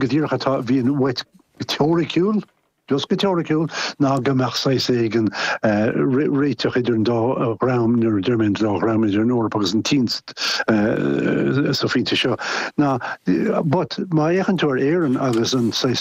Go díreach atá a bhíonn uait go teoiriciúil, just go teoiriciúil, ná go mbeadh saghas éigin réiteach idir an dá dhream, nuair a deir mé an dá dhream, idir an Eoraip agus an tSín sa phointe seo. Ná, but má fhéachann tú ar Éirinn agus an saghas.